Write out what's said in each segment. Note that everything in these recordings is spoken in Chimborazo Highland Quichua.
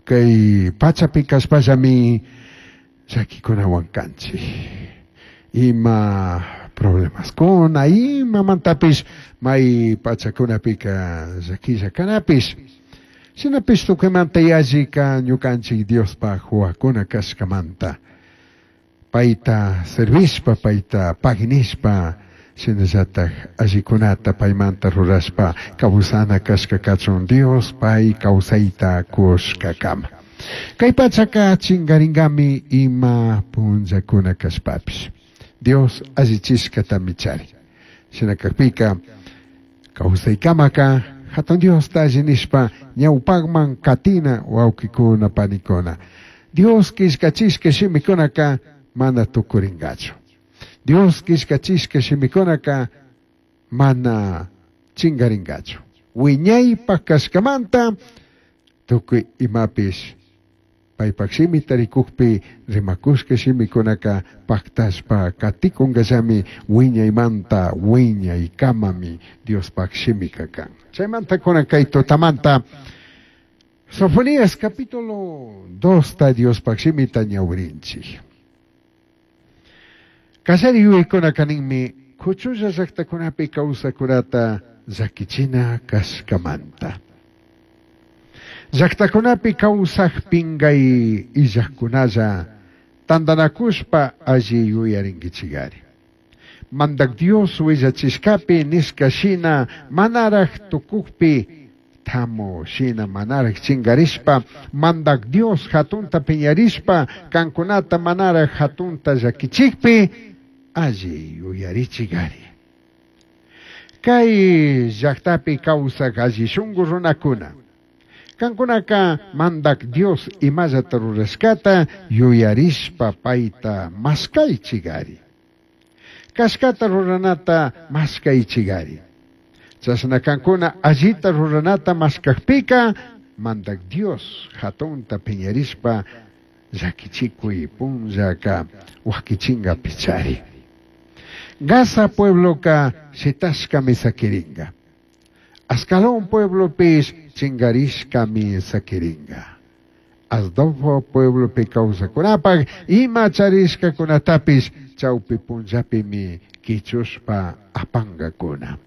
Kay pachapi kashpallami llaquikunawan kanchik. Ima problemaskuna, imamantapish may pachakunapika llaquilla kanapish. Shinapish tukuymanta yallika ñukanchik Diospaj huahua kashkamanta. Payta servishpa, payta paginishpa, shinallataj allikunata paymanta rurashpa kawsana kashka kachun Dios pay kawsayta kushkakama. Kay pachaka chingaringami ima punllakuna kashpapish. Dios allichishkatami charin. Shina kakpika kawsaykamaka hatun Diosta alli nishpa ñawpakman katina wawkikuna panikuna. Dios killkachishka shimikunaka mana tukuringachu. Dios killkachishka shimikunaka mana chingaringachu. Wiñaypaj kashkamanta tukuy imapish paypak shimita rikukpi rimakushka shimikunaka paktashpa katikunkallami wiñaymanta wiñaykamami Diospaj shimika kan. Chaymanta kunan kay tutamanta Sofonías capítulo 2 ta Diospaj shimita ñawrinchik. Kallari yuyaykunaka ninmi kuchulla llaktakunapi kawsakunata llakichina kashkamanta. Llaktakunapi kawsaj pingay illajkunalla tantanakushpa alli yuyarinkichikari. Mandak Dios willachishkapi nishka shina manaraj tukukpi tamu shina manaraj chingarishpa Mandak Dios hatunta piñarishpa kankunata manaraj hatunta llakichikpi alli yuyarichikari. Kay llaktapi kawsaj alli shunku runakuna. Kankunaka Mandak Dios imallata rurashkata yuyarishpa payta maskaychikari. Kashkata ruranata maskaychikari. Chashna kankuna allita ruranata maskakpika Mandak Dios hatunta piñarishpa llakichikuy punllaka wakichinga pichari. Gaza puebloka shitashkami sakiringa. Ascalón pueblopish chingarishkami sakiringa. Asdod pueblopi kawsakunapaj ima charishkakunatapish chawpi punllapimi kichushpa apangakuna.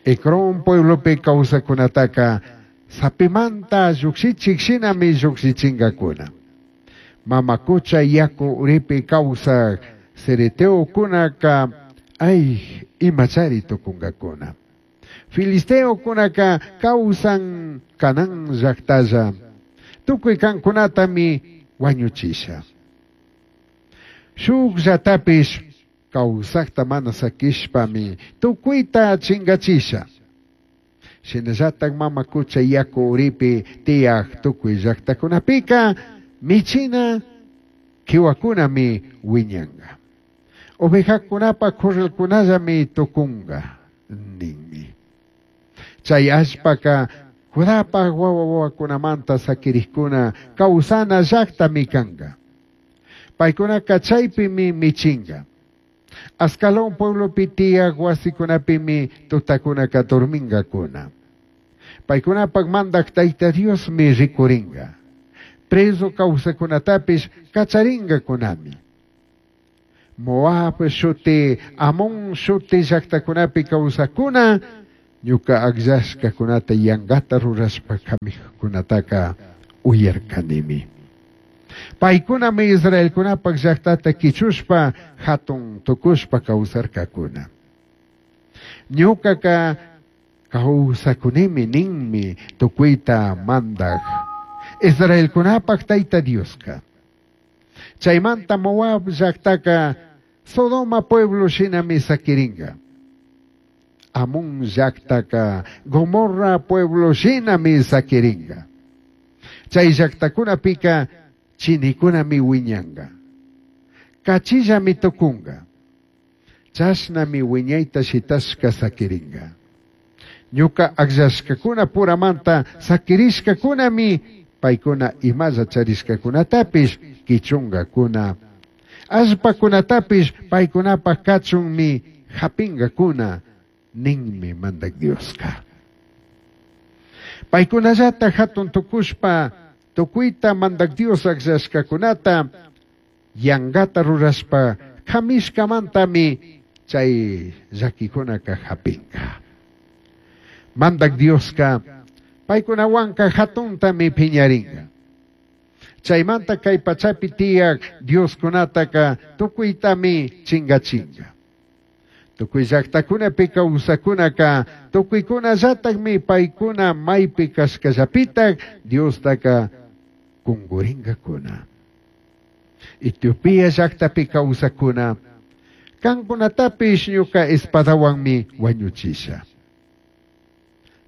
Ecrón pueblopi kawsakunataka sapimanta llukshichik shinami llukshichingakuna. Mama kucha yaku uripi kawsaj cereteokunaka ay imachari tukunkakuna. Filisteokunaka kawsan Canaán llaktalla tukuy kankunatami wañuchisha. Shukllatapish kawsakta mana sakishpami tukuyta chingachisha. Shinallatak mama kucha yaku uripi tiyaj tukuy llaktakunapika michina kiwakunami wiñanka. Ovejakunapa corralkunallami tukunka ninmi. Chay allpaka Judapaj wawa wawakunamanta sakirikkuna kawsana llaktami kanka. Paykunaka chaypimi michinka. Ascalón pueblopi tiyaj wasikunapimi tutakunaka dormingakuna. Paykunapak mandak Tayta Diosmi rikurinka. Preso kawsakunatapish kacharinkakunami. Moab shuti, Amón shuti llaktakunapi kawsakuna ñuka akllashkakunata yankata rurashpa kamijkunataka uyarkanimi. Paykunami Israelkunapak llaktata kichushpa hatun tukushpa kawsarkakuna. Ñukaka kawsakunimi ninmi tukuyta mandak Israelkunapak Tayta Dioska. Chaymanta Moab llaktaka Sodoma pueblo shinami sakirinka. Amón llaktaka Gomorra pueblo shinami sakirinka. Chay llaktakunapika chinikunami wiñanka. Kachillami tukunka. Chashnami wiñayta shitashka sakirinka. Ñuka akllashkakuna puramanta sakirishkakunami paykuna imalla charishkakunatapish kichunkakuna. Allpakunatapish paykunapak kachunmi hapinkakuna ninmi Mandak Dioska. Paykunallata hatun tukushpa Tucuita Mandac Dios agllashcacunata yangata rurashpa camishcamantami chai llaquicunaca japinga. Mandac Diosca paicunahuanca jatuntami piñaringa. Chaimanta cai pachapi tiyac dioscunataca tucuitami chingachinga. Tucui llactacunapi causacunaca tucuicunallatajmi paicuna maipi cashcallapitaj Diostaca cunguringacuna. Etiopía llactapi causacuna cancunatapish ñuca espadahuanmi huañuchisha.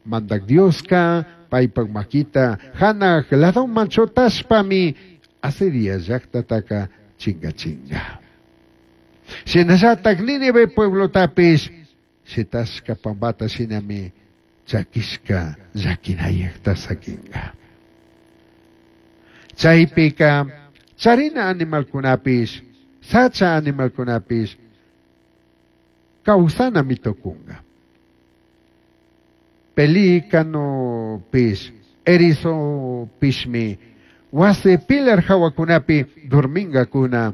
Mandac Diosca paipac maquita janaj ladoman chutashpami Asiria llactataca chingachinga. Shinallataj Nínive pueblotapish shitashca pambata shinami chaquishca llaquinayajta saquinga. Chaipica charina animalcunapish, sacha animalcunapish causanami tucunga. Pelícanopish, erizopishmi, huasi pilar jahuacunapi dormingacuna,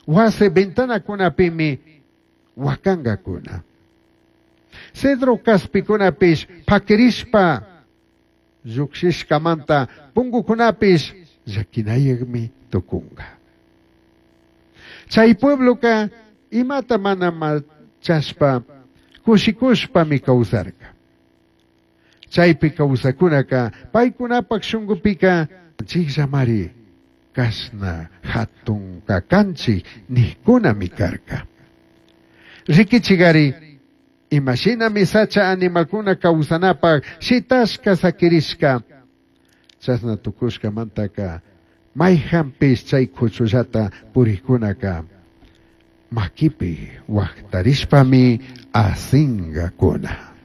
huasi ventanacunapimi huacangacuna. Cedro caspicunapish paquirishpa llujshishcamanta pungucunapish llaquinayajmi tucunga. Chai puebloca imata mana machashpa cushicushpami causarca. Chaipi causacunaca paicunapac shungupica chijllamari cashna jatun cacanchij nijcunami carca. Riquichigari imashinami sacha animalcuna causanapac shitashca saquirishca chashna tucushcamantaca maijanpish chay cuchullata purijunaca maquipi huajtarishpami asingacuna.